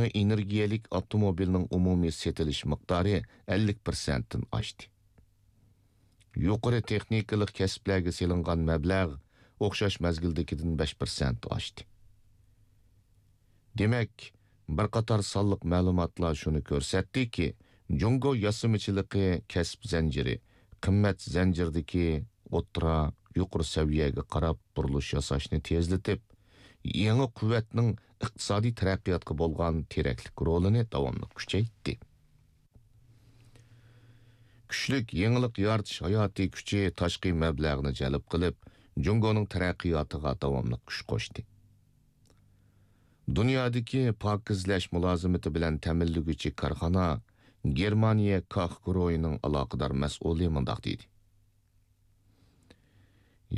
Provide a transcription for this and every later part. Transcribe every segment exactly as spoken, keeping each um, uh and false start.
ئېنېرگىيەلىك ئاپتوموبىلنىڭ ئومۇمىي سېتىلىش مىقدارى ئەللىك پىرسەنتتىن ئاشتى. يۇقىرى تېخنىكىلىق كەسىپلەرگە سېلىنغان مەبلەغ ئوخشاش مەزگىلدىكىدىن بەش پىرسەنت ئاشتى. دېمەك، بىر قاتار سانلىق مەلۇماتلار شۇنى كۆرسەتتىكى، جۇڭگو ياسىمىچىلىقى كەسىپ زەنجىرى، قىممەت زەنجىرىدىكى ئوتتۇرا، يۇقىرى سەۋىيەگە قاراپ بۇرۇلۇش ياساشنى تېزلىتىپ، يېڭى قۇۋۋەتنىڭ ئىقتىسادىي تەرەققىياتقا بولغان تىرەكلىك رولىنى داۋاملىق كۈچەيتتى. كۈچلۈك يېڭىلىق يارىتىش ھاياتىي كۈچى تاشقى مەبلەغنى جەلپ قىلىپ، جۇڭگونىڭ تەرەققىياتىغا داۋاملىق كۈچ قوشتى. دۇنيادىكى پاكىزلەش مۇلازىمىتى بىلەن تەمىنلىگۈچى كارخانا گېرمانىيە كاخ گۇرۇھىنىڭ ئالاقىدار مەسئۇلى مۇنداق دېدى: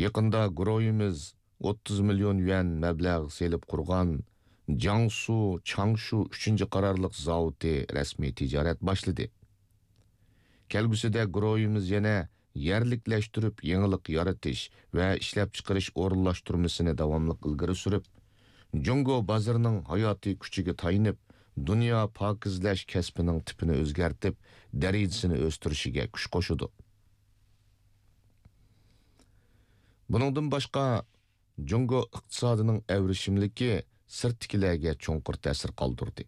يېقىندا گۇرۇھىمىز ئوتتۇز مىليون يۈەن مەبلەغ سېلىپ قۇرغان جياڭسۇ چاڭشۇ ئۈچىنچى قارارلىق زاۋۇتى رەسمىي تىجارەت باشلىدى. كەلگۈسىدە گۇرۇھىمىز يەنە يەرلىكلەشتۈرۈپ يېڭىلىق يارىتىش ۋە ئىشلەپچىقىرىش ئورۇنلاشتۇرمىسىنى داۋاملىق ئىلگىرى سۈرۈپ، جۇڭگو بازىرىنىڭ ھاياتىي كۈچىگە تايىنىپ، دۇنيا پاكىزلەش كەسپىنىڭ تىپىنى ئۆزگەرتىپ، دەرىجىسىنى ئۆستۈرۈشىگە كۈچ قوشىدۇ. بۇنىڭدىن باشقا، جۇڭگو ئىقتىسادىنىڭ ئەۋرىشىملىكى سىرتتىكىلەرگە چوڭقۇر تەسىر قالدۇردى.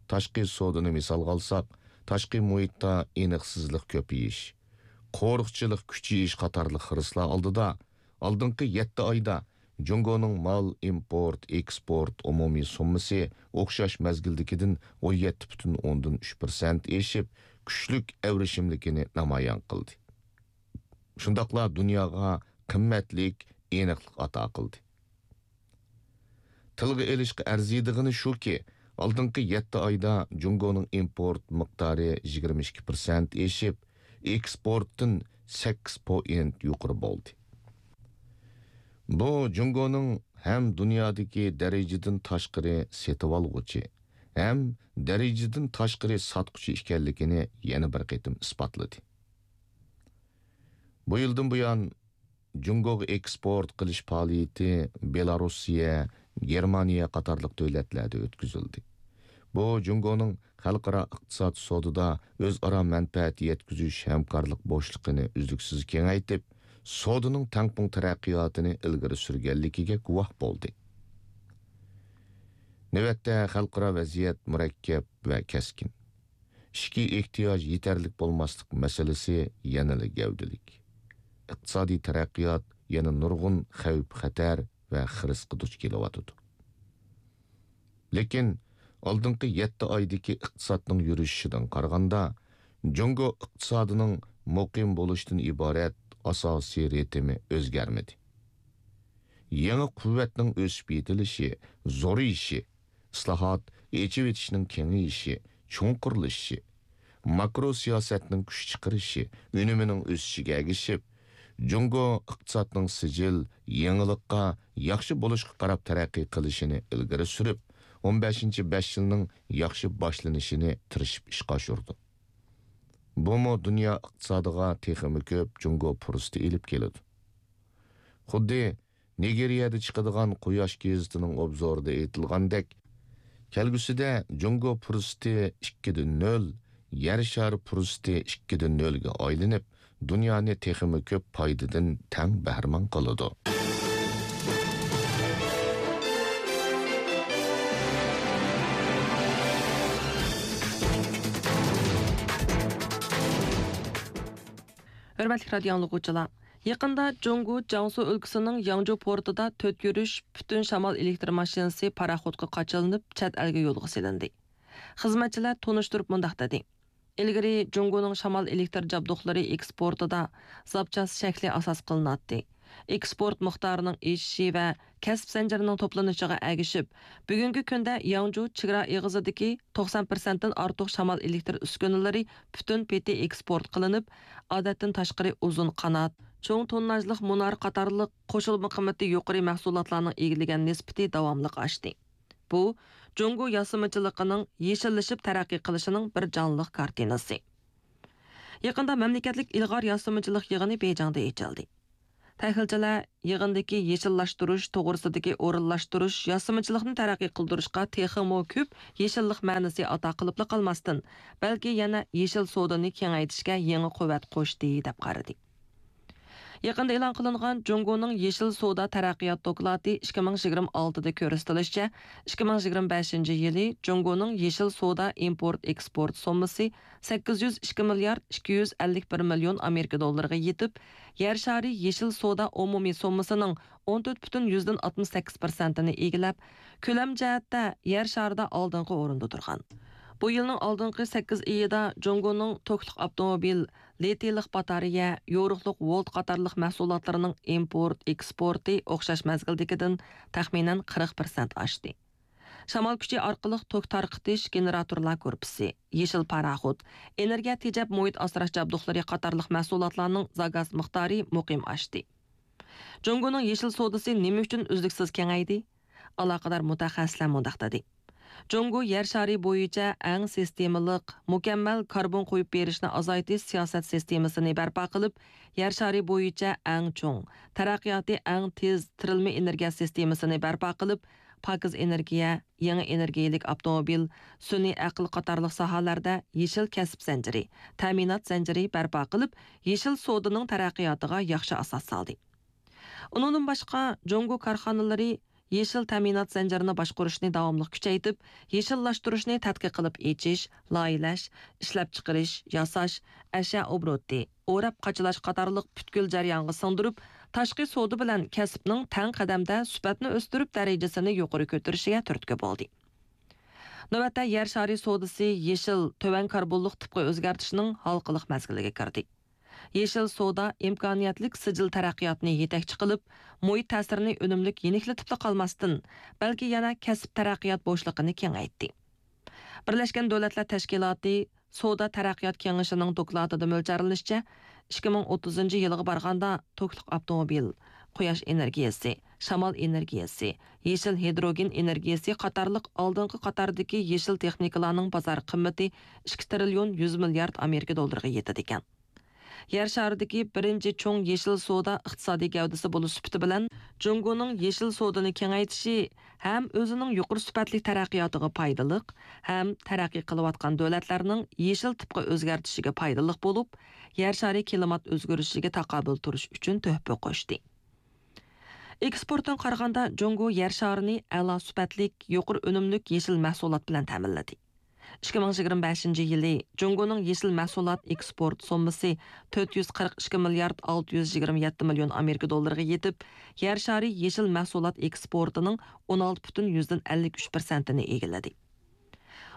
تاشقى سودىنى مىسالغا ئالساق، تاشقى مۇھىتتا ئېنىقسىزلىق كۆپىيىش، قورۇقچىلىق كۈچىيىش قاتارلىق خىرىسلار ئالدىدا، ئالدىنقى يەتتە ئايدا جۇڭگونىڭ مال ئىمپورت، ئېكسپورت ئومۇمىي سوممىسى ئوخشاش مەزگىلدىكىدىن ئون يەتتە پۈتۈن ئوندىن ئۈچ پىرسەنت ئېشىپ، كۈچلۈك ئەۋرىشىملىكىنى نامايان قىلدى. شۇنداقلا دۇنياغا قىممەتلىك ئېنىقلىق ئاتا قىلدى. تىلغا ئېلىشقا ئەرزىيدىغىنى شۇكى، ئالدىنقى يەتتە ئايدا جۇڭگونىڭ ئىمپورت مىقدارى يىگىرمە ئىككى پىرسەنت ئېشىپ، ئېكسپورتتىن سەككىز پوئىنت يۇقىرى بولدى. بۇ جۇڭگونىڭ ھەم دۇنيادىكى دەرىجىدىن تاشقىرى سېتىۋالغۇچى، ھەم دەرىجىدىن تاشقىرى ساتقۇچى ئىكەنلىكىنى يەنە بىر قېتىم ئىسپاتلىدى. بۇ يىلدىن بۇيان، جۇڭگوغا ئېكسپورت قىلىش پائالىيىتى بېلاروسىيە، گېرمانىيە قاتارلىق دۆلەتلەردە ئۆتكۈزۈلدى. بۇ جۇڭگونىڭ خەلقئارا ئىقتىساد سودىدا ئۆزئارا مەنپەئەت يەتكۈزۈش ھەمكارلىق بوشلۇقىنى ئۈزلۈكسىز كېڭەيتىپ، سودىنىڭ تەڭپۇڭ تەرەققىياتىنى ئىلگىرى سۈرگەنلىكىگە گۇۋاھ بولدى. نۆۋەتتە خەلقئارا ۋەزىيەت مۇرەككەپ ۋە كەسكىن. ئىچكى ئېھتىياج يېتەرلىك بولماسلىق مەسىلىسى يەنىلا گەۋدىلىك. ئىقتىسادىي تەرەققىيات يەنە نۇرغۇن خەۋپ-خەتەر ۋە خىرىسقا دۇچ كېلىۋاتىدۇ. لېكىن ئالدىنقى يەتتە ئايدىكى ئىقتىسادنىڭ يۈرۈشۈشىدىن قارىغاندا، جۇڭگو ئىقتىسادىنىڭ مۇقىم بولۇشتىن ئىبارەت ئاساسىي رىتىمى ئۆزگەرمىدى. يېڭى قۇۋۋەتنىڭ ئۆسۈپ يېتىلىشى، زورىيىشى، ئىسلاھات، ئېچىۋېتىشنىڭ كېڭىيىشى، چوڭقۇرلىشىشى، ماكرو سىياسەتنىڭ كۈچ چىقىرىشى، ئۈنۈمىنىڭ ئۆسۈشىگە ئەگىشىپ، جۇڭگو ئىقتىسادنىڭ سىجىل، يېڭىلىققا، ياخشى بولۇشقا قاراپ تەرەققىي قىلىشىنى ئىلگىرى سۈرۈپ، ئون بەشىنچى بەش يىلنىڭ ياخشى باشلىنىشىنى تىرىشىپ ئىشقا ئاشۇرىدۇ. بۇمۇ دۇنيا ئىقتىسادىغا تېخىمۇ كۆپ جۇڭگو پۇرسىتى ئېلىپ كېلىدۇ. خۇددى نىگېرىيەدە چىقىدىغان قۇياش گېزىتىنىڭ ئوبزورىدا ئېيتىلغاندەك، كەلگۈسىدە جۇڭگو پۇرسىتى ئىككىدە نۆل، يەر شارى پۇرسىتى ئىككىدە نۆلگە ئايلىنىپ، دۇنيانى تېخىمۇ كۆپ پايدىدىن تەڭ بەھرىمەن قىلىدۇ. ھۆرمەتلىك رادىيو ئاڭلىغۇچىلار! يېقىندا جۇڭگو جياڭسۇ ئۆلكىسىنىڭ ياڭجۇ پورتىدا تۆت يۈرۈش پۈتۈن شامال ئېلېكتر ماشىنىسى پاراخوتقا قاچىلىنىپ، چەت ئەلگە يولغا سېلىندى. خىزمەتچىلەر تونۇشتۇرۇپ مۇنداق دېدى: ئىلگىرى جۇڭگونىڭ شامال ئېلېكتر جابدۇقلىرى ئېكسپورتىدا زاپچاس شەكلى ئاساس قىلىناتتى. ئېكسپورت مىقدارىنىڭ ئېشىشى ۋە كەسىپ زەنجىرىنىڭ توپلىنىشىغا ئەگىشىپ، بۈگۈنكى كۈندە ياڭجۇ چېگرا ئېغىزىدىكى توقسان پىرسەنتتىن ئارتۇق شامال ئېلېكتر ئۈسكۈنىلىرى پۈتۈن پېتى ئېكسپورت قىلىنىپ، ئادەتتىن تاشقىرى ئۇزۇن قانات، چوڭ تونناژلىق مۇنار قاتارلىق قوشۇلما قىممىتى يۇقىرى مەھسۇلاتلارنىڭ ئىگىلىگەن نىسبىتى داۋاملىق ئاشتى. بۇ، جۇڭگو ياسىمىچىلىقىنىڭ يېشىللىشىپ تەرەققىي قىلىشىنىڭ بىر جانلىق كارتىنىسى. يېقىندا مەملىكەتلىك ئىلغار ياسىمىچىلىق يىغىنى بېيجىڭدا ئېچىلدى. تەھلىلچىلەر يىغىندىكى يېشىللاشتۇرۇش توغرىسىدىكى ئورۇنلاشتۇرۇش، ياسىمىچىلىقنى تەرەققىي قىلدۇرۇشقا تېخىمۇ كۆپ يېشىللىق مەنىسى ئاتا قىلىپلا قالماستىن، بەلكى يەنە يېشىل سودىنى كېڭەيتىشكە يېڭى قۇۋۋەت قوشتى، دەپ قارىدى. يېقىندا ئېلان قىلىنغان جۇڭگونىڭ يېشىل سودا تەرەققىيات دوكلاتى ئىككى مىڭ يىگىرمە ئالتىدە كۆرسىتىلىشىچە، ئىككى مىڭ يىگىرمە بەشىنچى يىلى جۇڭگونىڭ يېشىل سودا ئىمپورت ئېكسپورت سوممىسى سەككىز يۈز ئىككى مىليارد ئىككى يۈز ئەللىك بىر مىليون ئامېرىكا دوللىرىغا يېتىپ، يەر شارى يېشىل سودا ئومۇمىي سوممىسىنىڭ ئون تۆت پۈتۈن يۈزدىن ئاتمىش سەككىز پىرسەنتىنى ئىگىلەپ، كۆلەم جەھەتتە يەر شارىدا ئالدىنقى ئورۇندا تۇرغان. بۇ يىلنىڭ ئالدىنقى سەككىز ئېيىدا جۇڭگونىڭ توكلۇق ئاپتوموبىل، لىتىيلىق باتارېيە، يورۇقلۇق ۋولت قاتارلىق مەھسۇلاتلىرىنىڭ ئىمپورت، ئېكسپورتى ئوخشاش مەزگىلدىكىدىن تەخمىنەن قىرىق پىرسەنت ئاشتى. شامال كۈچى ئارقىلىق توك تارقىتىش گېنېراتورلار گۇرۇپپىسى، يېشىل پاراخوت، ئېنېرگىيە تېجەپ مۇھىت ئاسراش جابدۇقلىرى قاتارلىق مەھسۇلاتلارنىڭ زاكاز مىقدارى مۇقىم ئاشتى. جۇڭگونىڭ يېشىل سودىسى نېمە ئۈچۈن ئۈزلۈكسىز كېڭەيدى؟ ئالاقىدار مۇتەخەسسىسلەر مۇنداق دېدى: جۇڭگو يەر شارى بويىچە ئەڭ سىستېمىلىق، مۇكەممەل كاربون قويۇپ بېرىشنى ئازايتىش سىياسەت سىستېمىسىنى بەرپا قىلىپ، يەر شارى بويىچە ئەڭ چوڭ، تەرەققىياتى ئەڭ تېز تىرىلما ئېنېرگىيە سىستېمىسىنى بەرپا قىلىپ، پاكىز ئېنېرگىيە، يېڭى ئېنېرگىيەلىك ئاپتوموبىل، سۈنئىي ئەقىل قاتارلىق ساھەلەردە يېشىل كەسىپ زەنجىرى، تەمىنات زەنجىرى بەرپا قىلىپ، يېشىل سودىنىڭ تەرەققىياتىغا ياخشى ئاساس سالدى. ئۇنىڭدىن باشقا، جۇڭگو كارخانىلىرى يېشىل تەمىنات زەنجىرىنى باشقۇرۇشنى داۋاملىق كۈچەيتىپ، يېشىللاشتۇرۇشنى تەتقىق قىلىپ ئېچىش، لايىھەلەش، ئىشلەپچىقىرىش، ياساش، ئەشيا ئوبوروتى، ئوراپ قاچىلاش قاتارلىق پۈتكۈل جەريانغا سىڭدۈرۈپ، تاشقى سودا بىلەن كەسىپنىڭ تەڭ قەدەمدە سۈپەتنى ئۆستۈرۈپ، دەرىجىسىنى يۇقىرى كۆتۈرۈشىگە تۈرتكە بولدى. نۆۋەتتە يەر شارى سودىسى يېشىل، تۆۋەن كاربونلۇق تىپقا ئۆزگەرتىشنىڭ ھالقىلىق مەزگىلىگە كىردى. يېشىل سودا ئىمكانىيەتلىك سىجىل تەرەققىياتنى يېتەكچى قىلىپ، مۇھىت تەسىرىنى ئۈنۈملۈك يېنىكلىتىپلا قالماستىن، بەلكى يەنە كەسىپ تەرەققىيات بوشلۇقىنى كېڭەيتتى. بىرلەشكەن دۆلەتلەر تەشكىلاتى سودا تەرەققىيات كېڭىشىنىڭ دوكلاتىدا مۆلچەرلىنىشىچە، ئىككى مىڭ ئوتتۇزىنچى يىلغا بارغاندا توكلۇق ئاپتوموبىل، قۇياش ئېنېرگىيەسى، شامال ئېنېرگىيەسى، يېشىل ھىدروگېن ئېنېرگىيەسى قاتارلىق ئالدىنقى قاتاردىكى يېشىل تېخنىكىلارنىڭ بازار قىممىتى ئىككى تىرىليون يۈز مىليارد ئامېرىكا دوللىرىغا يېتىدىكەن. يەر شارىدىكى بىرىنچى چوڭ يېشىل سودا ئىقتىسادىي گەۋدىسى بولۇش سۈپىتى بىلەن، جۇڭگونىڭ يېشىل سودىنى كېڭەيتىشى ھەم ئۆزىنىڭ يۇقىرى سۈپەتلىك تەرەققىياتىغا پايدىلىق، ھەم تەرەققىي قىلىۋاتقان دۆلەتلەرنىڭ يېشىل تىپقا ئۆزگەرتىشىگە پايدىلىق بولۇپ، يەر شارى كىلىمات ئۆزگىرىشىگە تاقابىل تۇرۇش ئۈچۈن تۆھپە قوشتى. ئېكسپورتتىن قارىغاندا، جۇڭگو يەر شارىنى ئەلا سۈپەتلىك، يۇقىرى ئۈنۈملۈك يېشىل مەھسۇلات بىلەن تەمىنلىدى. ئىككى مىڭ يىگىرمە بەشىنچى يىلى جۇڭگونىڭ يېشىل مەھسۇلات ئېكسپورت سوممىسى تۆت يۈز قىرىق ئىككى مىليارد ئالتە يۈز يىگىرمە يەتتە مىليون ئامېرىكا دوللىرىغا يېتىپ، يەر شارى يېشىل مەھسۇلات ئېكسپورتىنىڭ ئون ئالتە پۈتۈن يۈزدىن ئەللىك ئۈچ پىرسەنتىنى ئىگىلىدى.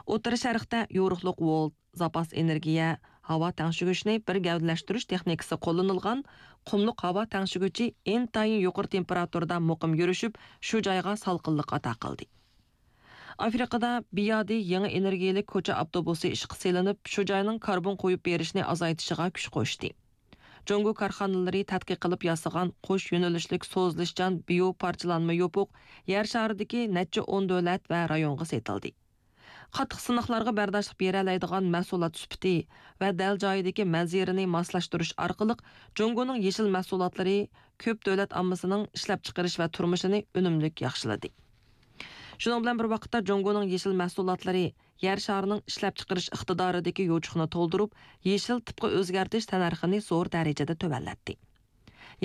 ئوتتۇرا شەرقتە يورۇقلۇق ۋولت، زاپاس ئېنېرگىيە، ھاۋا تەڭشىگۈچنى بىر گەۋدىلەشتۈرۈش تېخنىكىسى قوللىنىلغان قۇملۇق ھاۋا تەڭشىگۈچى ئىنتايىن يۇقىرى تېمپېراتۇرىدا مۇقىم يۈرۈشۈپ، شۇ جايغا سالقىنلىق ئاتا قىلدى. ئافرىقىدا بىيادى يېڭى ئېنېرگىيەلىك كوچا ئاپتوبۇسى ئىشقا سېلىنىپ، شۇ جاينىڭ كاربون قويۇپ بېرىشنى ئازايتىشىغا كۈچ قوشتى. جۇڭگو كارخانىلىرى تەتقىق قىلىپ ياسىغان قوش يۆنىلىشلىك سوزۇلۇشچان بىيو پارچىلانما يوپۇق يەر شارىدىكى نەچچە ئون دۆلەت ۋە رايونغا سېتىلدى. قاتتىق سىناقلارغا بەرداشلىق بېرەلەيدىغان مەھسۇلات سۈپىتى ۋە دەل جايىدىكى مەنزىرىنى ماسلاشتۇرۇش ئارقىلىق، جۇڭگونىڭ يېشىل مەھسۇلاتلىرى كۆپ دۆلەت ئاممىسىنىڭ ئىشلەپچىقىرىش ۋە تۇرمۇشىنى ئۈنۈملۈك ياخشىلىدى. شۇنىڭ بىلەن بىر ۋاقىتتا، جۇڭگونىڭ يېشىل مەھسۇلاتلىرى يەر شارىنىڭ ئىشلەپچىقىرىش ئىقتىدارىدىكى يوچۇقنى تولدۇرۇپ، يېشىل تىپقا ئۆزگەرتىش تەننەرخىنى زور دەرىجىدە تۆۋەنلەتتى.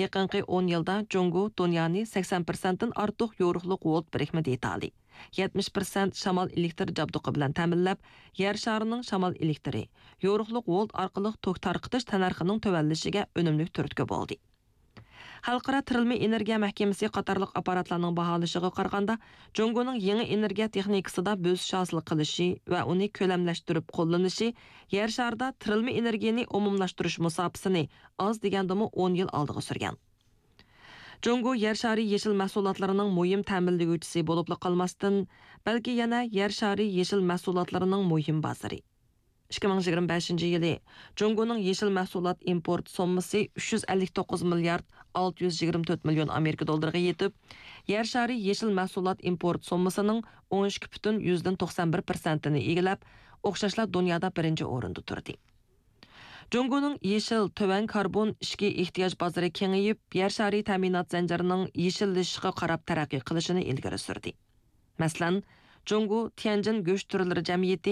يېقىنقى ئون يىلدا جۇڭگو دۇنيانى سەكسەن پىرسەنتتىن ئارتۇق يورۇقلۇق ۋولت بىرىكمە دېتالى، يەتمىش پىرسەنت شامال ئېلېكتر جابدۇقى بىلەن تەمىنلەپ، يەر شارىنىڭ شامال ئېلېكتىرى، يورۇقلۇق ۋولت ئارقىلىق توك تارقىتىش تەننەرخىنىڭ تۆۋەنلىشىگە ئۈنۈملۈك تۈرتكە بولدى. خەلقئارا تىرىلما ئېنېرگىيە مەھكىمىسى قاتارلىق ئاپپاراتلارنىڭ باھالىشىغا قارىغاندا، جۇڭگونىڭ يېڭى ئېنېرگىيە تېخنىكىسىدا بۆسۈش ھاسىل قىلىشى ۋە ئۇنى كۆلەملەشتۈرۈپ قوللىنىشى يەر شارىدا تىرىلما ئېنېرگىيەنى ئومۇملاشتۇرۇش مۇساپىسىنى ئاز دېگەندىمۇ ئون يىل ئالدىغا سۈرگەن. جۇڭگو يەر شارى يېشىل مەھسۇلاتلىرىنىڭ مۇھىم تەمىنلىگۈچىسى بولۇپلا قالماستىن، بەلكى يەنە يەر شارى يېشىل مەھسۇلاتلىرىنىڭ مۇھىم بازىرى. ئىككى مىڭ يىگىرمە بەشىنچى يىلى جۇڭگونىڭ يېشىل مەھسۇلات ئىمپورت سوممىسى ئۈچ يۈز ئەللىك توققۇز مىليارد ئالتە يۈز يىگىرمە تۆت مىليون ئامېرىكا دوللىرىغا يېتىپ، يەر شارى يېشىل مەھسۇلات ئىمپورت سوممىسىنىڭ ئون ئىككى پۈتۈن يۈزدىن توقسان بىر پىرسەنتىنى ئىگىلەپ، ئوخشاشلا دۇنيادا بىرىنچى ئورۇندا تۇردى. جۇڭگونىڭ يېشىل، تۆۋەن كاربون ئىچكى ئېھتىياج بازىرى كېڭىيىپ، يەر شارى تەمىنات زەنجىرىنىڭ يېشىللىشىشقا قاراپ تەرەققىي قىلىشىنى ئىلگىرى سۈردى. مەسىلەن، جۇڭگو تيەنجىن گۆش تۈرلىرى جەمئىيىتى